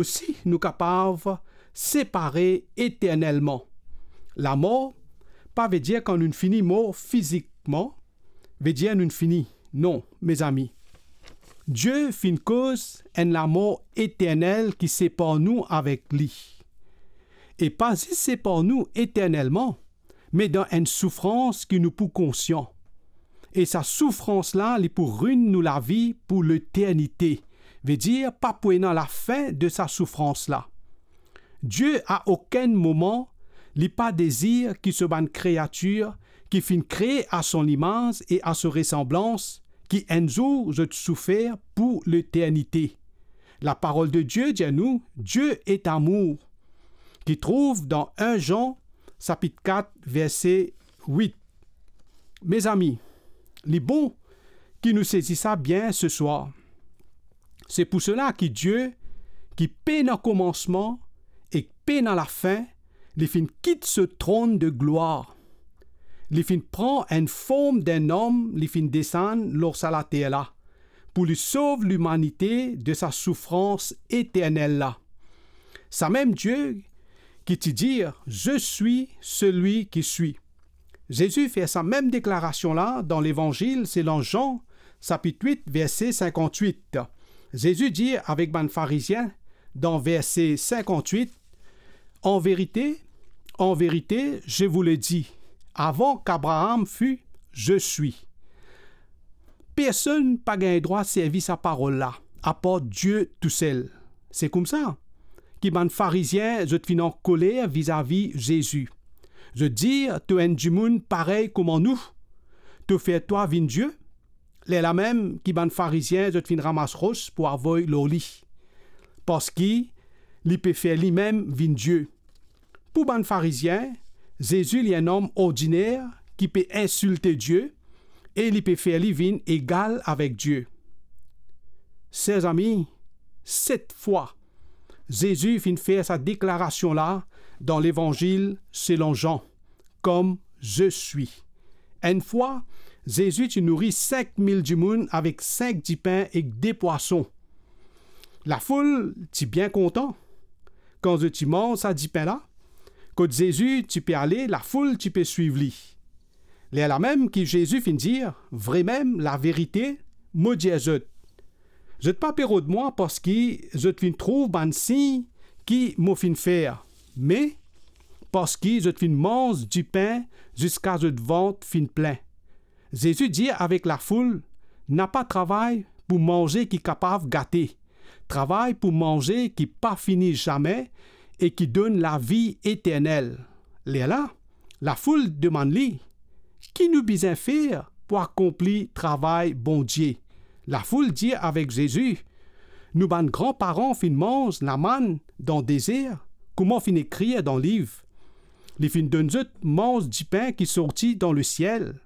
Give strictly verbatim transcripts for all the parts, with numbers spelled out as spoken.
osi nou kapav separe eternelman. Lamor pa vedir kan nou fini mor fizikman, vedir nou fini. Non, mezami. Die finn koz enn lamor eternel ki separ nou avek li. E pa zis separ nou eternelman, me dan enn soufrans ki nou pou konsian. E sa soufrans la, li pou rinn nou lavi pou leternite, vedir pa pou ena lafin de sa soufrans la. Die a okenn moman, li pa dezir ki so bann kreatir ki finn kree a son limaz e a so resanblans, ki enn zour zot soufer pou leternite. Laparol de Die dir nou, Dieu est amour, ki trouv dan enn Zan, sapit kat, verse wit. Mezami, li bon ki nou sezi sa bien seswar. Se pou sela ki Die, ki pena komansman ek pena lafin, li finn kit so tronn de glwar. Li finn pran enn form d'enn om, li finn desann lor sa later la, pou li sov limanite de sa soufrans eternel la. Samem Die ki ti dir, "Je suis celui qui suis." Zezi fer sa mem deklarasion la dan Levanzil selon Zan, sapit wit, verse sinkant-wit. Zezi dir avek bann Farizien dan verse sinkant-wit, "En vérité, en vérité, je vous le dis, avant qu'Abraham fût, je suis." Personn pa gagn drwa servi sa parol la, apar Die tousel. Se koumsa ki bann Farizien, zot finn ankoler vizavi Zezi. Zot dir, "To enn dimoun parey kouma nou, to fer twa vinn Die?" Lerla mem ki bann Farizien, zot finn ramas ros pou avoy lor li, parski li pe fer limem vinn Die. Pou bann Farizien, Zezi li enn om ordiner ki pe insilte Die e li pe fer li vinn egal avek Die. Ser zami, set fwa, Zezi finn fer sa deklarasion la dan Levanzil selon Zan, "Comme je suis." Enn fwa, Zezi ti nouri sink mil dimoun avek sink dipin ek de pwason. Lafoul ti bien kontan kan zot ti manz sa dipin la. Kot Zezi ti pe ale, lafoul ti pe swiv li. Lerla mem ki Zezi finn dir, "Vremem, laverite, mo dir zot, zot pa pe rod mwa parski zot finn trouv bann sign ki mo finn fer, me parski zot finn manz dipin ziska zot vant finn plin." Zezi dir avek lafoul, "Napa travay pou manze ki kapav gate, travay pou manze ki pa fini zame e ki donn lavi eternel." Lerla lafoul demann li, "Ki nou bizin fer pou akonpli travay Bondie?" Lafoul dir avek Zezi, "Nou bann granparan finn manz lamann dan dezer, kouma finn ekrir dan liv, 'Li finn donn zot manz dipin ki sorti dan lesiel.'"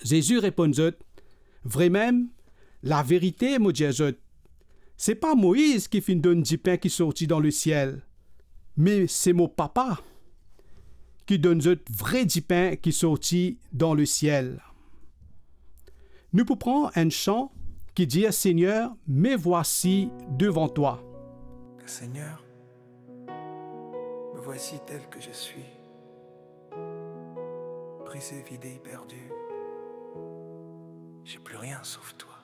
Zezi reponn zot, "Vremem, laverite mo dir zot, se pa Moiz ki finn donn dipin ki sorti dan lesiel, me se mo Papa ki donn zot vre dipin ki sorti dan lesiel." Nou pou pran enn san ki dir, "Seigneur, me voici devant toi." Seigneur, me voici tel que je suis, brisé, vidé, perdu. J'ai plus rien sauf toi.